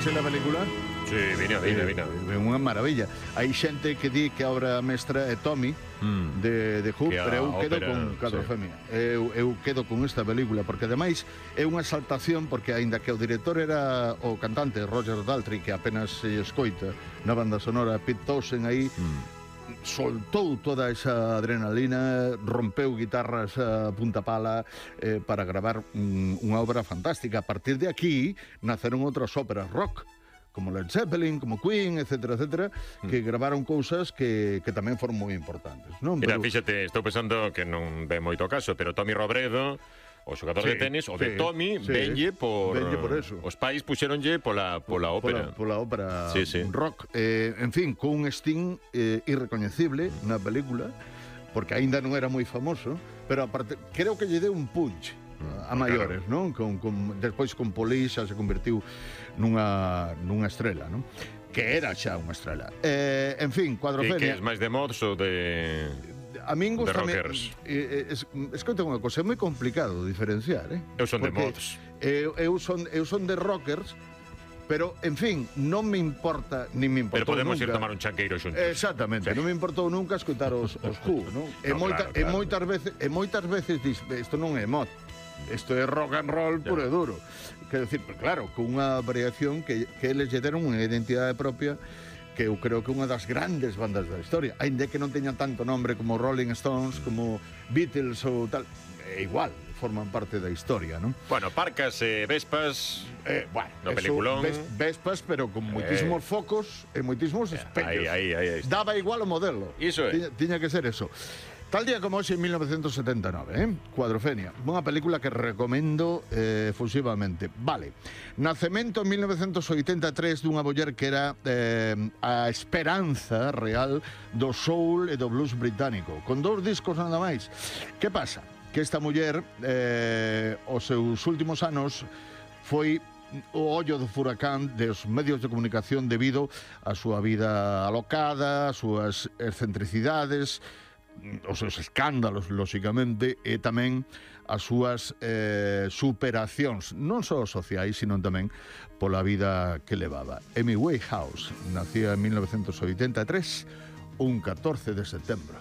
Viste a película? Sí, vina. É unha maravilla. Hai xente que di que a obra mestra é Tommy de Who, pero eu quedo con Cuadrofemia. Eu quedo con esta película porque ademais é unha exaltación, porque aínda que o director era o cantante Roger Daltrey, que apenas se escoita na banda sonora, Pete Townshend aí soltou toda esa adrenalina, rompeu guitarras a punta pala para gravar unha obra fantástica. A partir de aquí naceron outras óperas rock, como Led Zeppelin, como Queen, etcétera, que gravaron cousas que tamén foron moi importantes, non? Mira, fíxate, estou pensando que non ve moito caso, pero Tommy Robredo, o xogador de tenis, o de Tommy, venlle por eso. Os pais puxeronlle pola ópera. Pola ópera rock. En fin, con un Sting irrecoñecible na película, porque aínda non era moi famoso, pero aparte, creo que lle deu un punch a maiores, non? Despois con Police xa se convertiu nunha estrela, non? Que era xa unha estrela. En fin, Cuadrofemia. Que é máis de mods ou de... A min gustame... Escoita unha cosa, é moi complicado diferenciar, Eu son de mods. Eu son de rockers, pero, en fin, non me importa, nin me importou nunca. Pero podemos nunca ir tomar un chanqueiro xuntos. Exactamente, non me importou nunca escoitar os Who, non? E moitas veces dis, isto non é mod, isto é rock and roll puro e duro. Quero dicir, claro, con unha variación que eles lle deron unha identidade propia, que eu creo que é unha das grandes bandas da historia, aínda que non teñan tanto nombre como Rolling Stones, como Beatles ou tal, é igual, forman parte da historia, non? Bueno, parcas e vespas, no peliculón. Vespas, pero con moitísimos focos e moitísimos espellos. Aí. Daba igual o modelo. Iso é. Tiña que ser eso. Tal día como hoxe, en 1979, Cuadrofemia, unha película que recomendo efusivamente. Vale, nacemento en 1983 dunha muller que era a esperanza real do soul e do blues británico, con 2 discos nada máis. Que pasa? Que esta muller, os seus últimos anos, foi o ollo do furacán dos medios de comunicación debido á súa vida alocada, as súas excentricidades, os seus escándalos, lóxicamente, e tamén as súas superacións, non só sociais, sino tamén pola vida que levaba. Amy Winehouse nacía en 1983, un 14 de setembro.